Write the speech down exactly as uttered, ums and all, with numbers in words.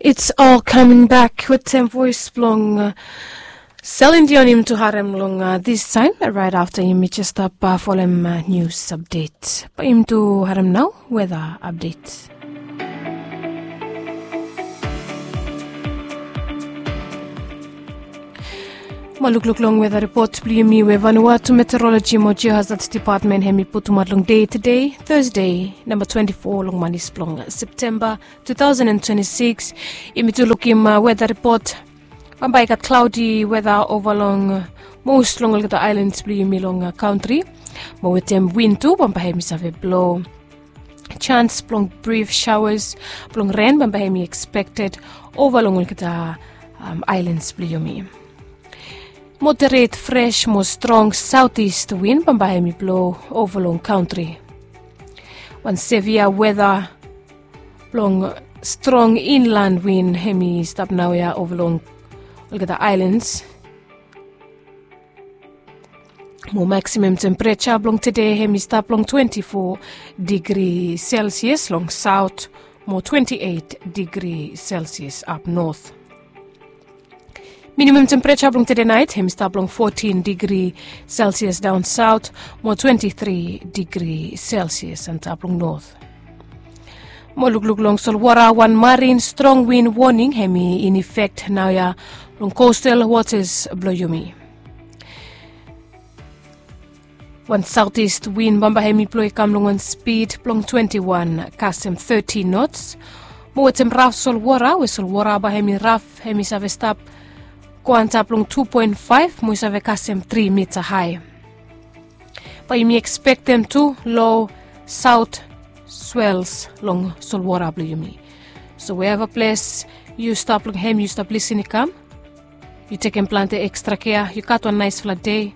It's all coming back wetem voes blong Selin Dion yumi tu harem long distaem raet afta yumi jes stap folem nius apdet. Bae yumi tu harem nao weta apdet. Mo lukluk long weta ripot blong yumi we Vanuatu Meteoroloji mo Geohazard Depatmen hem i putumaot long dei tede, Tasde, namba twenti fo long manis blong Septemba tu taosen an twenti sikis. Yumi tu lukim weta ripot. Bambae i gat klaodi weta ova long mos long olgeta aelans blong yumi long kantri. Mo wetem win tu bambae hem i save blo. Jans blong brif saoas blong ren bambae hem i ekspekted ova long olgeta aelans blong yumi. Moderet fres mo strong saotis win bambae hem i blo ova long kantri. Wan sevia weta blong strong inlan win hem i stap naoia ova long olgeta aelans. Mo maksimam tempereja blong tede hem i stap long twenti fo digri selsias long saot mo twenti eit digri selsias ap not. Minimam tempereja blong tede naet hem i stap long fotin digri selsias daon saot mo twenti tri digri selsias antap long not. Mo lukluk long solwara, wan marin strong win woning hem i in efek naoia long kostal wotas blong yumi. Wan saotis win bambae hem i blo i kam long wan spid blong twenti wan kasem teti nots. Mo wetem raf solwara we solwara bae hem i raf hem i save stap go antap long tu poen faef mo i save kasem tri mita hae. Bae yumi ekspektem tu lo saot swels long solwara blong yumi. So weeva ples yu stap long hem yu stap lisin i kam, yu tekem plante ekstra kea, yu gat wan naesfala dei.